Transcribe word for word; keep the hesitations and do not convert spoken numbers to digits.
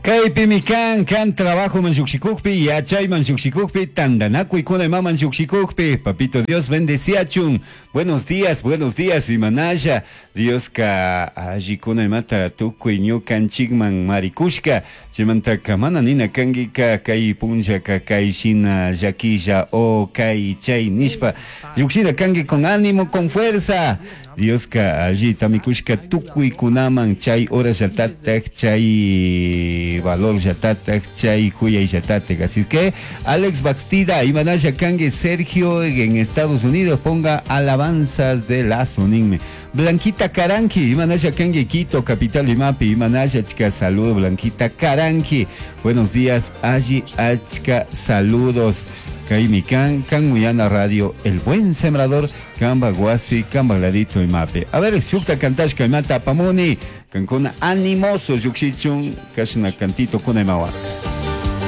Kaypimi kan kan trabajo man llukshikukpi, yachayman llukshikukpi, tandanakuykuna imaman llukshikukpi. Papito Dios bendeciachun. Buenos días, buenos días, imanalla. Dioska allikuna imata tukuy ñukanchikman marikushka. Chaymantaka mana nina kankika kay punllaka kay shina llakilla o kay chay nishpa. Llukshina kanki con ánimo, con fuerza. Dioska allita mikushka tukuykunaman chay hora llatatak, chay valor llatatak, chay kuyay llatatak. Así que Alex Baxtida, imanalla kanki Sergio en Estados Unidos, ponga alabanzas de Lazo, ninme. Blanquita Caranqui, imanalla kanki Quito, capital imapi, imanalla achka saludo Blanquita Caranqui. Buenos días, alli achka saludos. Kaymi kan, kan Muyana Radio, El Buen Sembrador, Kamba Guasi, Kamba Gladito imapi. A ver, shukta kantashka imata apamuni, kankuna animoso llukshichun, kashna cantito kuna imawa.